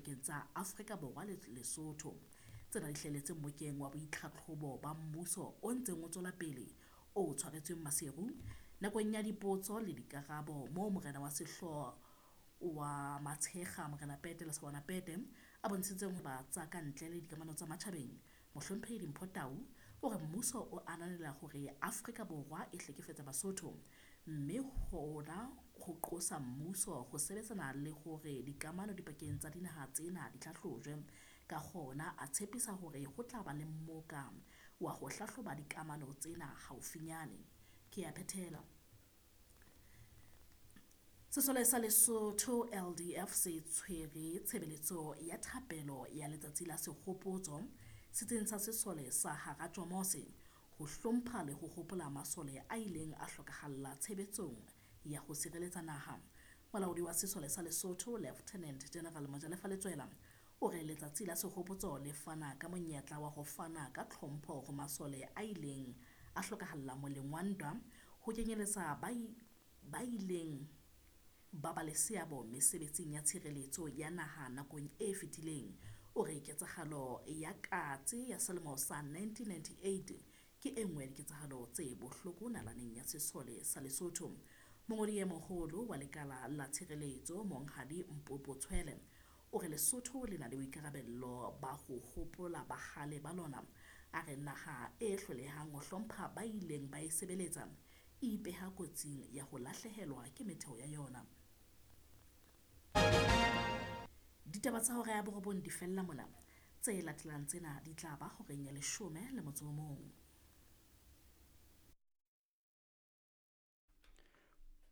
dipakeng tsa Afrika Borwa le Lesotho. Tsena di hlahelletse mmokeng wa boitlhatlhobo ba mmuso o ntseng o tswela pele o tshwaretsweng Maseru nakong ya dipotso le dikarabo moo morena wa sehlooho wa Matshekga Morena Pete Lesawana Pete a bontshitseng ho ba tsa ka ntle le dikamano tsa matjhabeng. Mohlomphehi Dimpho Tau o re mmuso o ananela hore Afrika Borwa e hlekefetsa Basotho, mme hona ho qosa mmuso ho sebetsana le hore dikamano dipakeng tsa dinaha tsena di hlahlojwe. Ka hona a tshepisa hore ho tla ba le mmoka wa ho hlahloba dikamano tsena haufinyane. Ke a phethela. Sesole sa Lesotho LDF se tshwere tshebeletso ya thapelo ya letsatsi la sehopotso setsing sa sesole sa Haratjomose ho hlompha le ho hopola masole a ileng a hlokahalla tshebetsong ya ho sireletsa naha. Molaodi wa sesole sa Lesotho Lieutenant General Mojalefa Letsoela o re letsatsi la sehopotso le fana ka monyetla wa ho fana ka tlhompho ho masole a ileng a hlokahalla moleng wa ntwa, ho kenyeletsa ba ileng ba ba le seabo mesebetsing ya tshireletso ya naha nakong e fetileng. O re ketsahalo ya Katse ya selemo sa 1998 ke e nngwe ya diketsahalo tse bohloko nalaneng ya sesole sa Lesotho. Mongodi e moholo wa lekala la tshireletso Monghadi Mpopo Tshwele o re Lesotho le na le boikarabello ba ho hopola bahale ba lona. A re naha e hlolehang ho hlompha ba ileng ba e sebeletsa e ipeha kotsing ya ho lahlehelwa ke metheo ya yona. Ditaba tsa hora ya borobong di fella mona. Tse latelang tsena di tla ba horeng ya 11.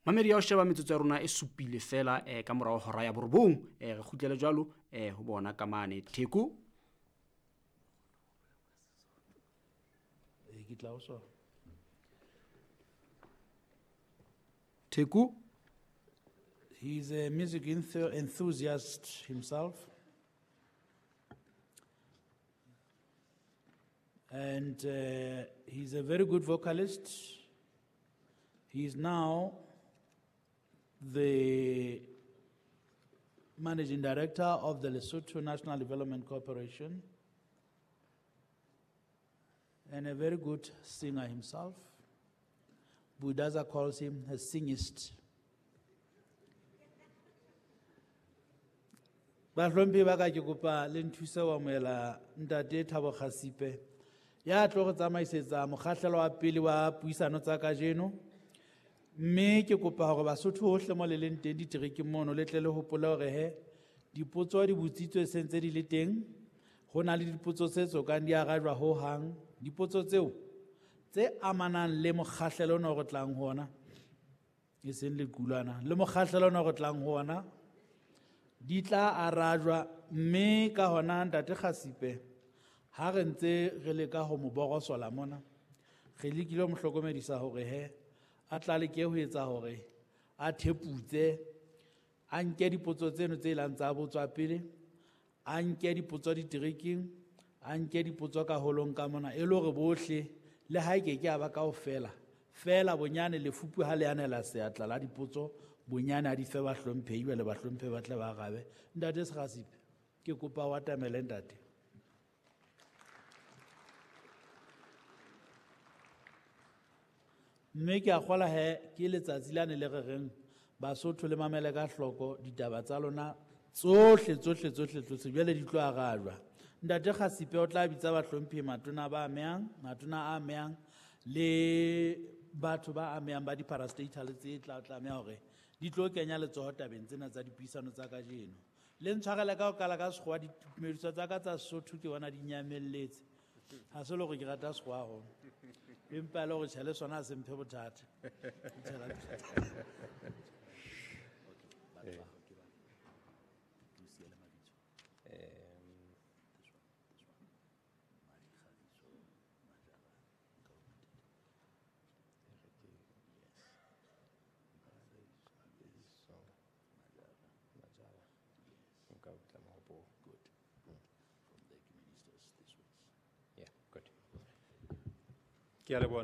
Mamedi ya ho sheba metsotso ya rona e supile fela ka morao hora ya borobong. Re kgutlele jwalo ho bona ka mane Theko. Ke tla o so. Theko. He's a music enthusiast himself. And he's a very good vocalist. He's now the managing director of the Lesotho National Development Corporation and a very good singer himself. Budaza calls him a singist. Bahlomphi ba ka ke kopa le nthuse wa moela ntate Thabo Khasipe ya tlo re tsamaisetsa mokgahlelo wa pele wa puisano tsa kajeno, mme ke kopa hore Basotho hohle mo le leng teng diterekeng mono le tle le hopole hore he dipotso di botsitswe sentse di le teng. Ho na le dipotso tse tsokang di arajwa ho hang, dipotso tseo tse amanang le mokgahlelo ono re tlang ho ona, e seng lequlwana, le mokgahlelo ono re tlang ho ona di tla arajwa. Mme ka hona ntate Khasipe ha re ntse re leka ho mo borosola mona, re lekile ho mo hlokomedisa hore he a tla leke ho etsa hore a theputse, a nke dipotso tseno tse ilang tsa botswa pele, a nke dipotso diterekeng, a nke dipotso ka holong ka mona, e le hore bohle le ha e ke ke a ba kaofela fela bonyane lefupu ha le anela seatla la dipotso bonyane a di fe bahlomphehi le bahlomphehi ba tle ba arabe. Ntate Khasipe, ke kopa o atamele ntate. Mme ke a kgola he ke letsatsi lane le re reng Basotho le mamele ka hloko ditaba tsa lona tsohle tsohle tsohle tsohle jwale di tlo arajwa. Ntate Khasipe o tla bitsa bahlomphehi matona ba amehang, matona a amehang le batho ba amehang ba di-parastatal tse tla tlameha hore di tlo kenya letsoho tabeng tsena tsa dipuisano tsa kajeno. Le ntshwarele ka ho qala ka sekgowa, ditumediso tsa ka tsa Sesotho ke bona di nyamelletse. Ha se le hore ke rata sekgowa haholo, empa e le hore tjhe le sona ha se mphe bothata. Ke a leboha.